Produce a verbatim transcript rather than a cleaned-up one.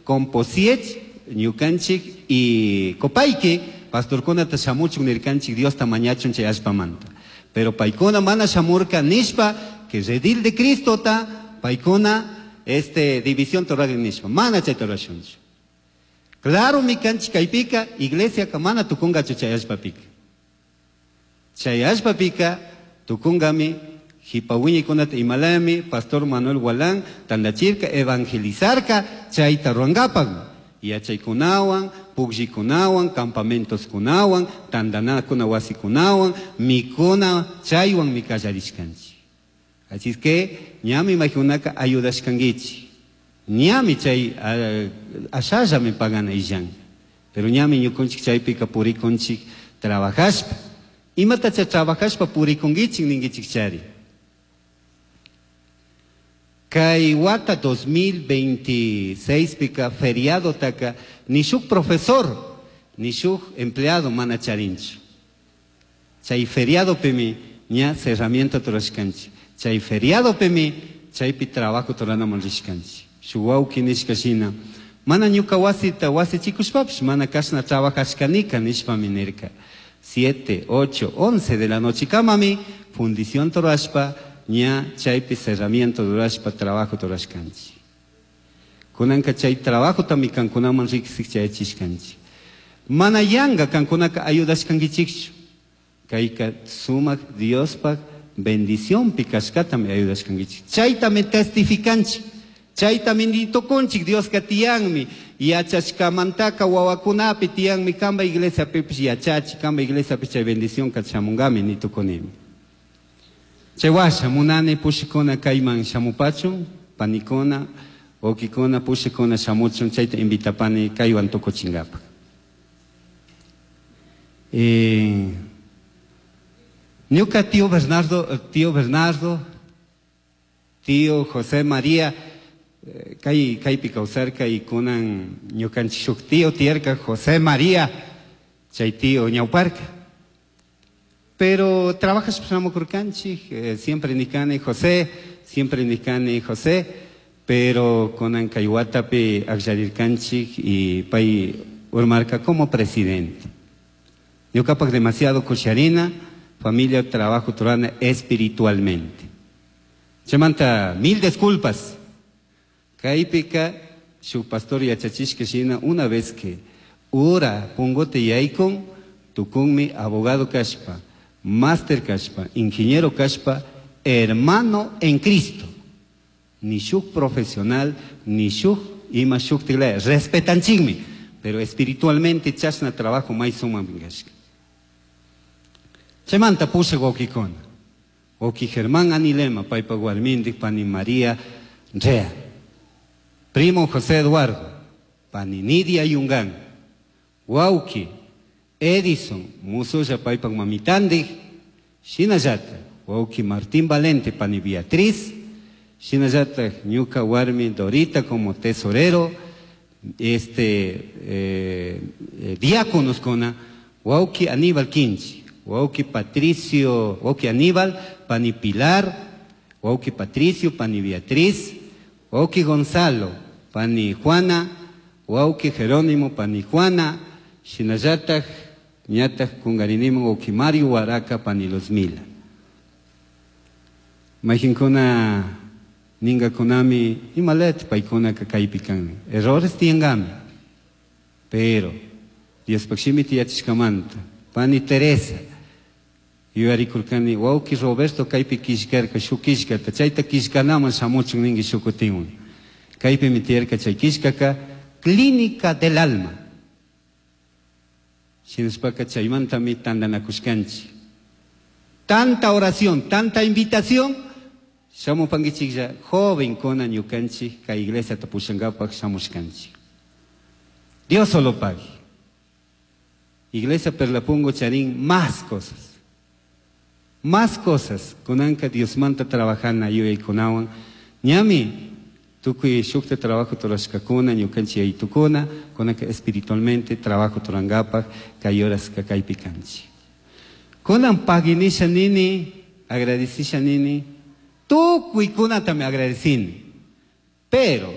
Composiech, ñukanchik y Copaique, pastorkunata shamuchun nirkanchik Diosta mañachun chay allpamanta. Pero paykuna mana shamurka nishpa que redil de Cristota paykuna este división ruragrin nishpa, mana chayta rurashunchu. Claro mi kanchik kaypika iglesiaka mana tukungachu chay allpapika. Chay allpapika tukungami jipa wiñaykunata imalami pastor Manuel Gualán tandachirka evangelizarka chayta rurankapak. Yachaykunawan, pukllikunawan, campamentoskunawan, tandanakuna wasikunawan, mikuna chaywan mi kallarishkanchik. Así es que ñami maykunaka ayudashkankichik. Ñami chay ashallami pagana illan. Pero ñami ñukunchik chaypika purikunchik trabajashpa. Imatacha trabajashpa purikunkichik ninkichik chari. Kay wata dos mil veintiséis pika feriado taka ni shuk profesor ni shuk empleado mana charinchu. Chay feriado pimi ña cerramiento turashkanchik. Chay feriado pimi chaypi trabajo turanaman rishkanchik. Shuk wawki nishka shina mana ñuka wasita wasichikushpapish mana kashna trabajashkanika nishpami nirka. Siete, ocho, once de la noche kamami fundición turashpa ña chaypi cerramiento durashpa trabajo turashkanchik. Kunanka chay trabajo tami kankunaman riksik chayachishkanchik. Mana yanga kankunaka ayudashkankichikchu. Kayka sumak Diospaj bendicionpi kashkatami ayudashkankichik. Chaytami testificanchik. Chaytami nitukunchik Dioska tiyanmi. Yachashkamantaka wawakunapi tiyanmi kamba iglesiapipish yachachi, kamba iglesiapi chay bendición kachamungami nitukunimi. Chay washa munani pushikuna kayman shamupachun, panikuna, wawkikuna, pushikuna shamuchun, chayta invitapani kaywan tukuchinkapak. Eh, ñuka tío Bernardo, tío Bernardo, tío José María, eh, kay, kaypi kawsarka y kunan ñukanchik shuk tío tiyarka José María, chay tío ñawparka. Pero trabajas shamukurkanchik, eh, siempre nikani José, siempre nikani José, pero kunan kay watapi akllarirkanchik y pay urmarka como presidente. Ñukapak demasiado kusharina, familia, trabajo turana espiritualmente. Chaymanta mil disculpas. Kaypika shuk pastor yachachishka shina una vez que ura pungote yaykun tukunmi abogado kashpa, máster kashpa, ingeniero kashpa, hermano en Cristo. Ni shuk profesional, ni shuk ima shuk tiglaya. Respetanchikmi, pero espiritualmente chashna trabajo may suman kashka. Chaymanta pusha wawkikuna. Wawki Germán Anilema, paypa warmindik, pani María Rea. Primo José Eduardo, pani Nidia Yungán. Wawki Edison, musulla paypa mamitandik, shinallata, wawki Martín Valente, pani Beatriz, shinallata, ñuka warmi Dorita como tesorero, este, eh, eh, diáconos kuna, wawki Aníbal Quinchi, wawki Patricio, wawki Aníbal, pani Pilar, wawki Patricio, pani Beatriz, wawki Gonzalo, pani Juana, wawki Jerónimo, pani Juana, shinallataj, ñataj kungarinimo wawki Mario Huaraca, pani Luzmila. Mayjinkuna ningakunami imalet paykuna kaypi kan. Errores tiangami. Pero Diospaj shimi tiyachishkamanta, pani Teresa, yuyarikurkani wawki Roberto kaypi killkarka shuk killkata, chayta killkanaman shamuchun ninki shukutinwan. Kaypimi tiyarka chay killkaka Clínica del Alma. Shinashpaka chaymantami tantanakushkanchik. Tanta oración, tanta invitación, shamupankichiklla jovenkuna ñukanchik kay iglesia tapushankapak shamushkanchik. Dios solo pague. Iglesia Perlapungo charin más cosas. Más cosas. Kunanka Diosmanta trabajana yuyaykunawan. Ñami tukuy shukta trabajo turashkakuna, ñukanchik yaytukuna, kunanka espiritualmente trabajo turangapak, kay horas kaypi kanchik. Kunan paginisha nini, agradecisha nini, tukuy kunatami agradecini. Pero